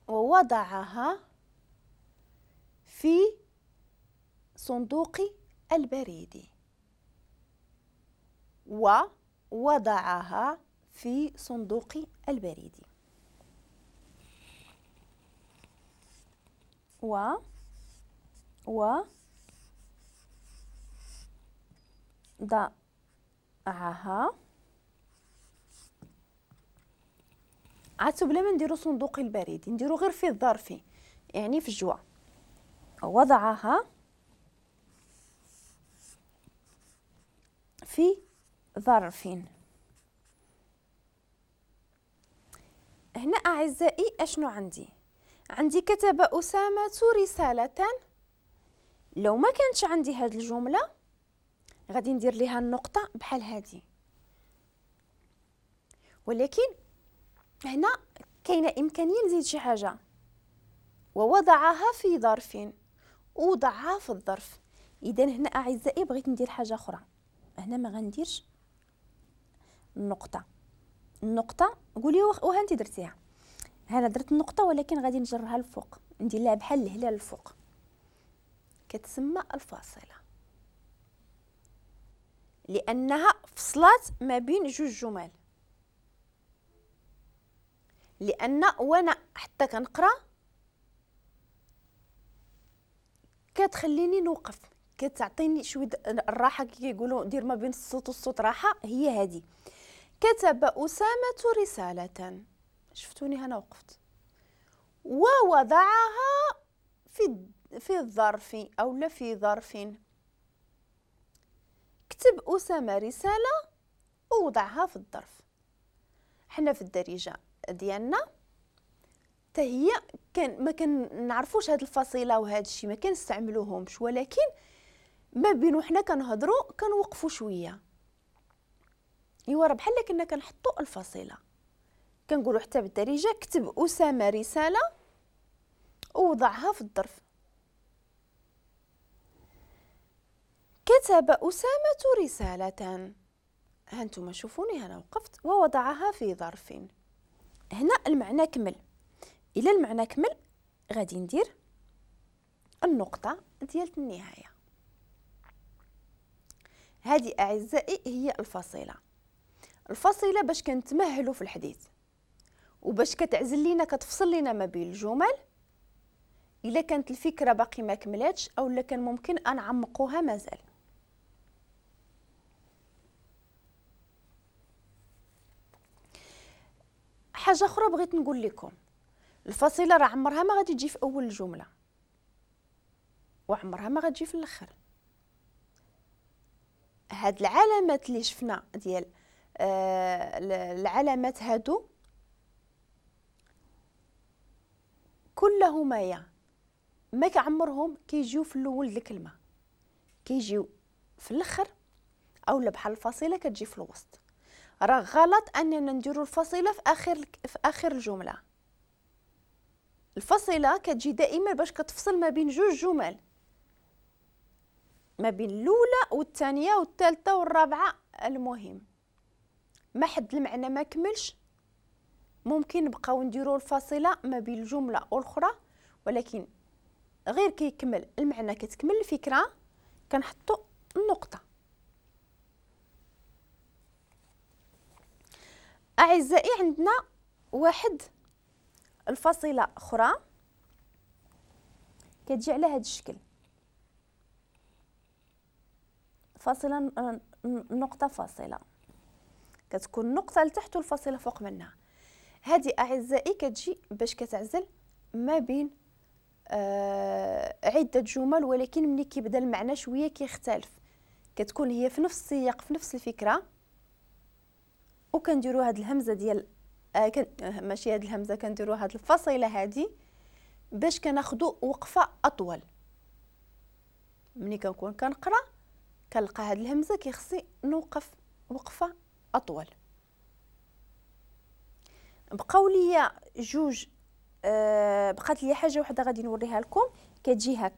ووضعها في صندوق البريد. ووضعها في صندوق البريد. و وضعها. عاد بلا ما نديرو صندوق البريد، نديرو غير في الظرف، يعني في الجوا. وضعها في ظرف. هنا أعزائي أشنو عندي؟ عندي كتب أسامة رسالة. لو ما كانتش عندي هاد الجملة غادي ندير ليها النقطة بحال هادي، ولكن هنا كاينة إمكانية نزيد شي حاجة. ووضعها في ظرف، وضعها في الظرف. إذا هنا أعزائي بغيت ندير حاجة أخرى، هنا ما غنديرش النقطة. النقطة قولي وها انت درتيها، هنا درت النقطة ولكن غادي نجرها الفوق، ندير لها بحال الهلال الفوق، كتسمى الفاصلة، لأنها فصلات ما بين جوج جمل. لأن وانا حتى كنقرا كتخليني نوقف، كتعطيني شوية الراحة، كيقولوا دير ما بين الصوت والصوت راحة، هي هذه. كتب أسامة رسالة، شفتوني هنا وقفت، ووضعها في الظرف أو لا في ظرف. كتب أسامة رسالة ووضعها في الظرف. حنا في الدارجة ديالنا حتى هي كان ما كنعرفوش هاد الفصيله وهاد الشيء، ما كنستعملوهمش، ولكن ما بين وحنا كنهضروا كنوقفوا شوية. ايوا راه بحال كنا كنحطوا الفاصلة، كنقولوا حتى بالدارجة كتب اسامة رسالة ووضعها في الظرف. كتب اسامة رسالة، ها انتم شوفوني هنا وقفت، ووضعها في ظرف. هنا المعنى كمل. الى المعنى كمل غادي ندير النقطة ديال النهاية. هذه اعزائي هي الفاصلة. الفاصلة باش كنتمهلوا في الحديث، وباش كتعزل لينا، كتفصل لينا ما بين الجمل. الا كانت الفكرة باقي ما كملاتش او لا كان ممكن انعمقوها مازال. حاجة اخرى بغيت نقول لكم، الفاصلة راه عمرها ما غادي تجي في اول الجملة، وعمرها ما غتجي في الاخر. هاد العلامات اللي شفنا ديال العلامات هادو كلهما يا ما كعمرهم كيجيو في الاول الكلمة، كيجيو في الاخر اولا بحال الفاصلة كتجي في الوسط. راه غلط اننا نديرو الفاصلة في اخر الجملة. الفاصلة كتجي دائما باش كتفصل ما بين جوج جمل، ما بين الاولى والثانية والثالثة والرابعة. المهم ما حد المعنى ما كملش، ممكن نبقاو نديرو الفاصلة ما بين الجملة والاخرى، ولكن غير كيكمل المعنى كتكمل الفكرة كنحطو النقطة. اعزائي عندنا واحد الفاصلة اخرى كتجي على هذا الشكل، فاصلة نقطة فاصلة، كتكون نقطة لتحت والفاصله فوق منها. هذه اعزائي كتجي باش كتعزل ما بين عده جمل، ولكن ملي كيبدا المعنى شوية كيختلف، كتكون هي في نفس السياق في نفس الفكرة. وكنديروا هاد الهمزة ديال ماشي هاد الهمزة، كنديروا هاد الفاصلة هادي باش كناخذوا وقفه اطول. ملي كنكون كنقرا كنلقى هاد الهمزة كيخصني نوقف وقفه اطول. بقاو ليا جوج، بقات لي حاجة وحده غادي نوريها لكم. كتجي هكا.